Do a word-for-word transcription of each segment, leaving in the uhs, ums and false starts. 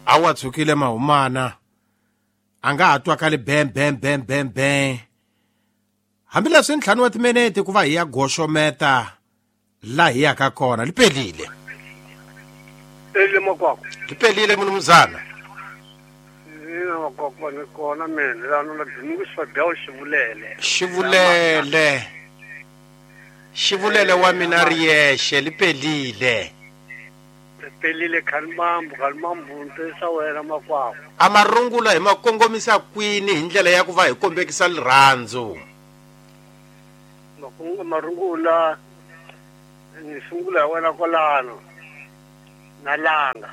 A wa tshukile mahumana a nga ha twakali bem bem bem bem bem hambileswi ntlhanu wa timinete ku va hi ya goxometa laha hi yaka kona lipelile Pelile makwako lipelile munumuzana ina makwako ni kona mina la nuna Domingo Fabiao Xivulele Xivulele Xivulele wa mina ri yexe lipelile pelile khalimambu khalimambu ntesa wena makwako a marungula hi ma kongomisa kwini hi ndlela ya ku va hi kombekisa lirhandzu makungu marungula ni sungula ya wena kwalano na langa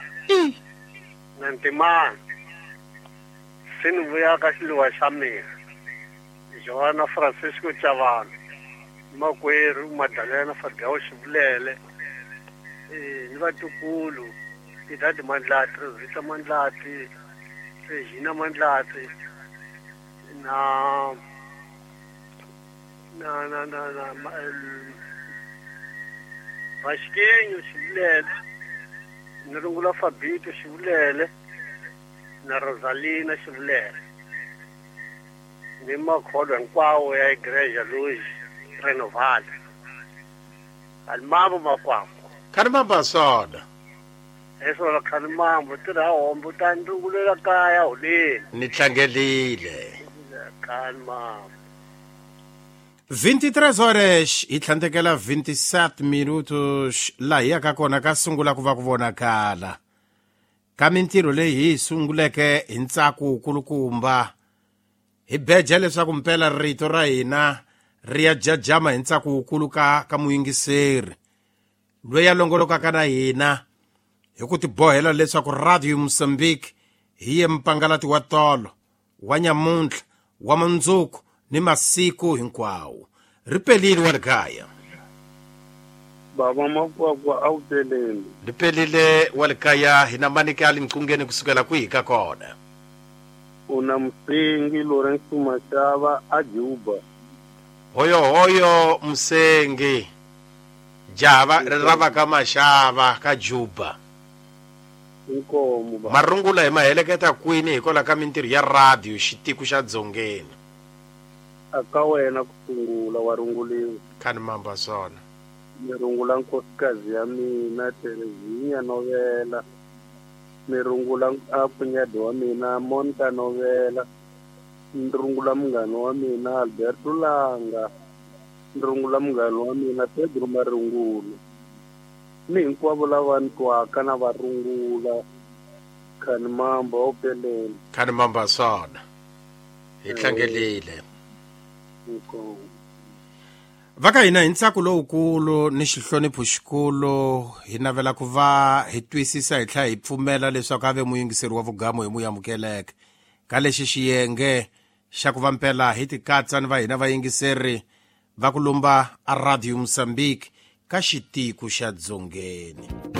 na ntimana se ni vuya ka xiluva xa mina Joana Francisco Chavano makwerhu Madalena Fabiao Xivulele eh ni vatukulu Idadi Mandlati Rosita Mandlati Regina Mandlati na na na na na Vasquinho Xivulele ni rungula Fabito Xivulele na Rosalina Xivulele ni makholwa hinkwawo ya Igreja Luz Renovada Alimambo makwako khalimambo swona eswona khalimambo tirha hombo ta ndungulela kaya holeni ni tlangelile khalimambo vinte e três horas hi tlhandlekela vinte e sete minutos laha hi yaka kona ka sungula ku va ku vonakala ka mintirho leyi hi yi sunguleke hi ntsako wukulukumba hi beja leswaku mpela rito ra hina ri ya jajama hi ntsako wukulu ka ka muyingiseri loyi a longolokaka na hina hi ku tibohela leswaku Radio Mozambique hi ye mpangalati wa tolo wa nyamuntlha wa mundzuku ni masiku hinkwawo ri pelile wa likaya baba makwakwa a wu peleni ri pelile wa likaya hina manike a linqungeni kusukela kwihi ka kona u na musengi Lawrence Mashava a Juba hoyo hoyo musengi java ra va ka Mashava ka Juba inkomo ba marungula hi maheleketa kwini hikwalaho ka mintirho ya radio xitiko xa dzongeni a ka wena ku sungula wa runguliwa khalimamba swona ni rungula nkosikazi ya mina Terezinha Novela ni rungula apunyadi wa mina Monica Novela ni rungula munghana wa mina Alberto Langa ni rungula munghana wa mina Pedro Marungula ni hinkwavo lava ni twaka na va rungula khalimamba wu peleni khalimamba swona hi tlangelile inkomo va ka hina hi ntsako lowukulu ni xihlonipho xikulu hi navela ku va hi twisisa hi tlhela hi pfumela leswaku a ve muyingiseri wa vugamu hi mu amukeleke ka lexi xiyenge xa ku va mpela hi tikatsa ni va hina vayingiseri va ku lumba a Radio Mozambique ka xitiko xa dzongeni.